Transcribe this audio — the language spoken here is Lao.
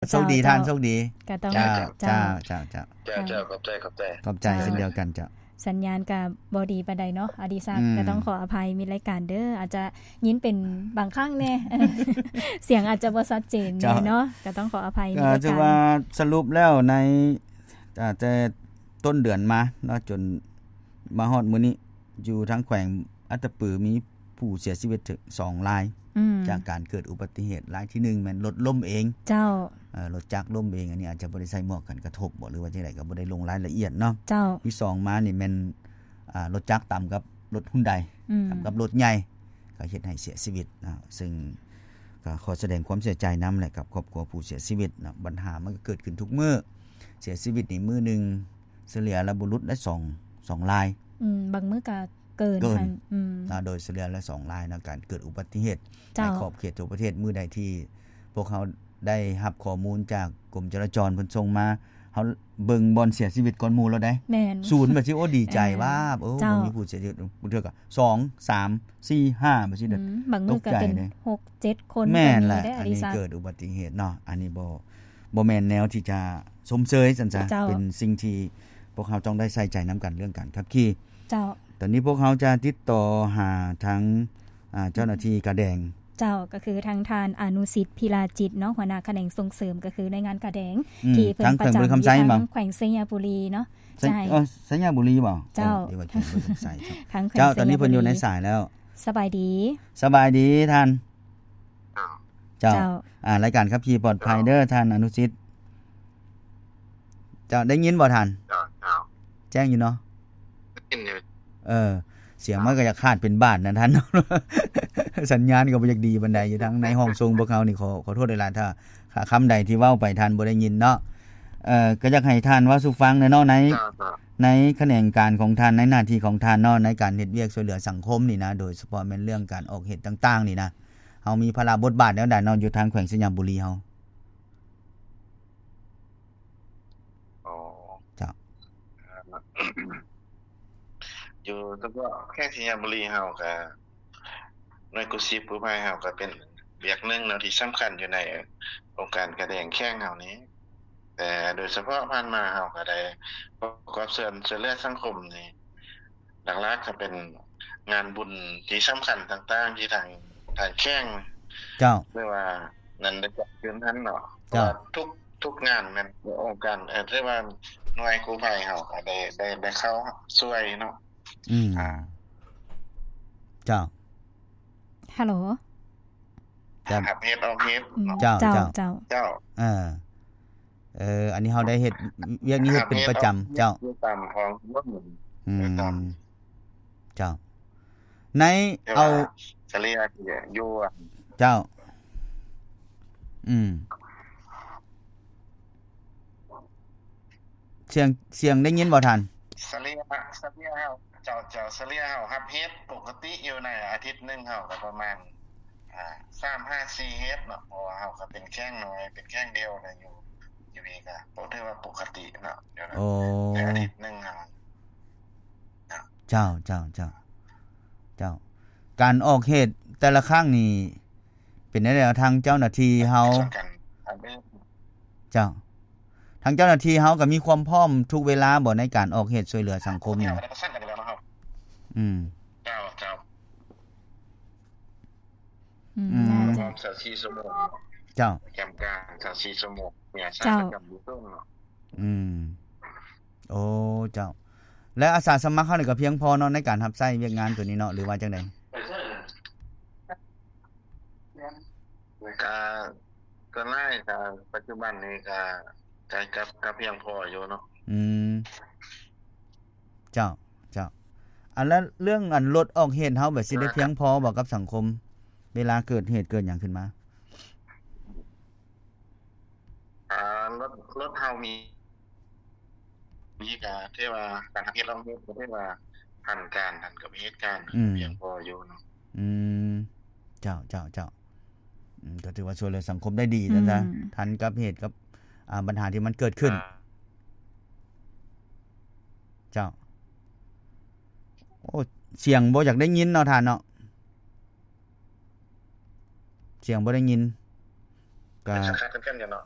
ໂຊກດີທ່ານ ໂຊກດີ ກໍຕ້ອງ ເຈົ້າ ເຈົ້າ ເຈົ້າ ເຈົ້າ ເຈົ້າ ຂອບໃຈ ຂອບໃຈ ຂອບໃຈເຊັ່ນດຽວກັນ ເຈົ້າ ສັນຍານກໍບໍ່ດີປານໃດເນາະ ອະດີສັກ ອືມ ກໍຕ້ອງຂໍອະໄພ ມີລາຍການເດີ ອາດຈະຍິນເປັນບາງຄັ້ງແດ່ ສຽງອາດຈະບໍ່ຊັດເຈນແດ່ເນາະ ເຈົ້າ ກໍຕ້ອງຂໍອະໄພ ມີລາຍການ ຖືວ່າສະຫຼຸບແລ້ວໃນ ອາ ແຕ່ຕົ້ນເດືອນມາເນາະ ຈົນມາຮອດມື້ນີ້ ຢູ່ທາງແຂວງອັດຕະປື ມີ ຜູ້ເສຍຊີວິດສອງລາຍ ອືມ ຈາກການເກີດອຸບັດຕິເຫດ ລາຍທີໜຶ່ງແມ່ນລົດລົ້ມເອງ ເຈົ້າ ເອີ ລົດຈັກລົ້ມເອງ ອັນນີ້ອາດຈະບໍ່ໄດ້ໃສ່ໝວກກັນກະທົບບໍ ຫຼືວ່າຈັ່ງໃດ ກໍບໍ່ໄດ້ລົງລາຍລະອຽດເນາະ ເຈົ້າ ທີສອງມານີ້ແມ່ນ ອາ ລົດຈັກຕຳກັບລົດຮຸນໄດ ອືມ ຕຳກັບລົດໃຫຍ່ ກໍເຮັດໃຫ້ເສຍຊີວິດເນາະ ເຊິ່ງກໍຂໍສະແດງຄວາມເສຍໃຈນຳແຫຼະ ກັບຄອບຄົວຜູ້ເສຍຊີວິດເນາະ ບັນຫາມັນກໍເກີດຂຶ້ນທຸກມື້ ເສຍຊີວິດນີ້ມື້ໜຶ່ງ ສະເລ່ຍແລ້ວບໍ່ຫຼຸດໄດ້ສອງ ສອງລາຍ ອືມ ບາງມື້ກໍເກີນ ເກີນ ອືມ ເນາະ ໂດຍສະເລ່ຍແລ້ວສອງລາຍເນາະ ການເກີດອຸບັດຕິເຫດ ເຈົ້າ ໃນຂອບເຂດທົ່ວປະເທດ ມື້ໃດທີ່ພວກເຮົາໄດ້ຮັບຂໍ້ມູນຈາກກົມຈະລາຈອນເພິ່ນສົ່ງມາ ເຮົາເບິ່ງບ່ອນເສຍຊີວິດກ່ອນໝູ່ແລ້ວເດ້ ແມ່ນ ສູນ ແບບຊິ ໂອ້ ດີໃຈ ເອີ ວາບ ໂອ້ ເຈົ້າ ບໍ່ມີຜູ້ເສຍຊີວິດ ບາງເທື່ອກໍສອງ ສາມ ສີ່ ຫ້າ ແບບຊີ້ ອືມ ບາງມື້ກໍເປັນ ຕົກໃຈເດ້ ຫົກ ເຈັດ ຄົນ ແມ່ນແຫຼະ ກໍມີເດ້ ອັນນີ້ເກີດອຸບັດຕິເຫດເນາະ ອັນນີ້ບໍ່ ບໍ່ແມ່ນແນວທີ່ຈະຊົມເຊີຍຊັ້ນຊະ ເຈົ້າ ເປັນສິ່ງທີ່ພວກເຮົາຕ້ອງໄດ້ໃສ່ໃຈນຳກັນເລື່ອງການຂັບຂີ່ ເຈົ້າ ຕອນນີ້ພວກເຮົາຈະຕິດຕໍ່ຫາທາງ ອາ ເຈົ້າໜ້າທີ່ກາແດງ ເຈົ້າ ກໍຄືທາງທ່ານ ອະນຸສິດ ພິລາຈິດ ເນາະ ຫົວໜ້າຂະແໜງສົ່ງເສີມ ກໍຄືໜ່ວຍງານກາແດງ ອືມ ທີ່ເພິ່ນປະຈຳຢູ່ທາງແຂວງໄຊຍະບູລີເນາະ ເອີ ໄຊຍະບູລີບໍ? ເຈົ້າ ເອີ ເຈົ້າ ຕອນນີ້ເພິ່ນຢູ່ໃນສາຍແລ້ວ ສະບາຍດີ ສະບາຍດີທ່ານ ເຈົ້າ ເຈົ້າ ອາ ລາຍການຂັບຂີ່ປອດໄພເດີທ່ານອະນຸສິດ ເຈົ້າ ໄດ້ຍິນບໍ່ທ່ານ? ເຈົ້າ ເຈົ້າ ແຈ້ງຢູ່ເນາະ ໄດ້ຍິນຢູ່ ເອີ ສຽງມັນກໍຢາກຂາດເປັນບາດນະທ່ານ ສັນຍານກໍບໍ່ຢາກດີປານໃດ ຢູ່ທາງໃນຫ້ອງສົ່ງພວກເຮົານີ້ ຂໍ ຂໍໂທດຫຼາຍໆ ຖ້າ ຖ້າຄຳໃດທີ່ເວົ້າໄປທ່ານບໍ່ໄດ້ຍິນເນາະ ເອີ ກໍຢາກໃຫ້ທ່ານເວົ້າສູ່ຟັງແດ່ເນາະ ໃນ ເຈົ້າ ເຈົ້າ ໃນຂະແໜງການຂອງທ່ານ ໃນໜ້າທີ່ຂອງທ່ານເນາະ ໃນການເຮັດວຽກຊ່ວຍເຫຼືອສັງຄົມນີ້ນະ ໂດຍສະເພາະແມ່ນເລື່ອງການອອກເຫດຕ່າງໆນີ້ນະ ເຮົາມີພາລະບົດບາດແນວໃດເນາະ ຢູ່ທາງແຂວງໄຊຍະບູລີເຮົາ? ອໍ ເຈົ້າ ຢູ່ສະເພາະແຂວງໄຊຍະບູລີເຮົາກະ ໜ່ວຍກູ້ຊີບກູ້ໄພເຮົາກະເປັນວຽກໜຶ່ງເນາະ ທີ່ສຳຄັນຢູ່ໃນອົງການກາແດງແຂວງເຮົານີ້ ແຕ່ໂດຍສະເພາະຜ່ານມາເຮົາກະໄດ້ປະກອບສ່ວນຊ່ວຍເຫຼືອສັງຄົມນີ້ ຫຼັກໆກໍເປັນງານບຸນທີ່ສຳຄັນຕ່າງໆ ທີ່ທາງ ທາງແຂວງ ເຈົ້າ ຫຼືວ່ານັ້ນໄດ້ຈັດຂຶ້ນຫັ້ນເນາະ ເພາະວ່າ ເຈົ້າ ທຸກ ທຸກງານແມ່ນອົງການ ເອີ ຫຼືວ່າໜ່ວຍກູ້ໄພເຮົາກໍໄດ້ ໄດ້ ໄດ້ເຂົ້າຊ່ວຍເນາະ ອືມ ອ່າ ເຈົ້າ ຮັລໂຫຼ ເຈົ້າ ຮັບເຫດອອກເຫດເນາະ ເຈົ້າ ເຈົ້າ ເຈົ້າ ເຈົ້າ ເອີ ເອີ ອັນນີ້ເຮົາໄດ້ເຮັດວຽກນີ້ເຮັດເປັນປະຈຳ ເຈົ້າ ຢູ່ຕາມທ້ອງຖະໜົນ ອືມ ເຈົ້າ ໃນ ເອົາ ສະເລ່ຍຢູ່ ເຈົ້າ ອືມ ສຽງ ສຽງໄດ້ຍິນບໍ່ທ່ານ? ສະເລ່ຍ ສະເລ່ຍເຮົາ ເຈົ້າ ເຈົ້າ ສະເລ່ຍເຮົາຮັບເຫດປົກກະຕິຢູ່ໃນອາທິດໜຶ່ງເຮົາກໍປະມານ ອ່າ ສາມຫາສີ່ເຫດເນາະ ເພາະວ່າເຮົາກໍເປັນແຂວງນ້ອຍ ເປັນແຂວງດຽວນະ ຢູ່ ຢູ່ນີ້ກໍບໍ່ຖືວ່າປົກກະຕິເນາະ ໂອ້ ໃນອາທິດໜຶ່ງເຮົາ ເຈົ້າ ເຈົ້າ ເຈົ້າ ເຈົ້າ ການອອກເຫດແຕ່ລະຄັ້ງນີ້ເປັນແນວໃດ? ທາງເຈົ້າໜ້າທີ່ເຮົາ ເຈົ້າ ທາງເຈົ້າໜ້າທີ່ເຮົາກໍມີຄວາມພ້ອມທຸກເວລາບໍ່ ໃນການອອກເຫດຊ່ວຍເຫຼືອສັງຄົມນີ້? ອືມ ເຈົ້າ ເຈົ້າ ອືມ ອືມ ພ້ອມຊາວສີ່ຊົ່ວໂມງ ເຈົ້າ ປະຈຳການຊາວສີ່ຊົ່ວໂມງ ມີອາສາ ເຈົ້າ ປະຈຳຢູ່ເທິງເນາະ ອືມ ໂອ້ ເຈົ້າ ແລະ ອາສາສະໝັກເຮົານີ້ກໍພຽງພໍເນາະ ໃນການຮັບໃຊ້ວຽກງານຕົວນີ້ເນາະ ຫຼືວ່າຈັ່ງໃດ? ກໍ ສ່ວນຫຼາຍກໍປັດຈຸບັນນີ້ກໍ ກໍ ກໍ ກໍພຽງພໍຢູ່ເນາະ ອືມ ເຈົ້າ ເຈົ້າ ອັນ ແລ້ວເລື່ອງ ອັນ ລົດອອກເຫດເຮົາແບບຊິໄດ້ພຽງພໍບໍ່ກັບສັງຄົມ ເວລາເກີດເຫດເກີດຫຍັງຂຶ້ນມາ? ອ່າ ລົດ ລົດເຮົາມີ ມີກະຖືວ່າການຮັບເຫດອອກເຫດ ກະຖືວ່າທັນການ ທັນກັບເຫດການ ອືມ ພຽງພໍຢູ່ເນາະ ອືມ ເຈົ້າ ເຈົ້າ ເຈົ້າ ອືມ ກໍຖືວ່າຊ່ວຍເຫຼືອສັງຄົມໄດ້ດີ ອືມ ຊັ້ນຊະ ທັນກັບເຫດກັບ ອ່າ ບັນຫາທີ່ມັນເກີດຂຶ້ນ ອ່າ ເຈົ້າ ໂອ້ ສຽງບໍ່ຢາກໄດ້ຍິນເນາະທ່ານເນາະ ສຽງບໍ່ໄດ້ຍິນ ກໍ ເປັນສັງກັດເປັນກັນຢູ່ເນາະ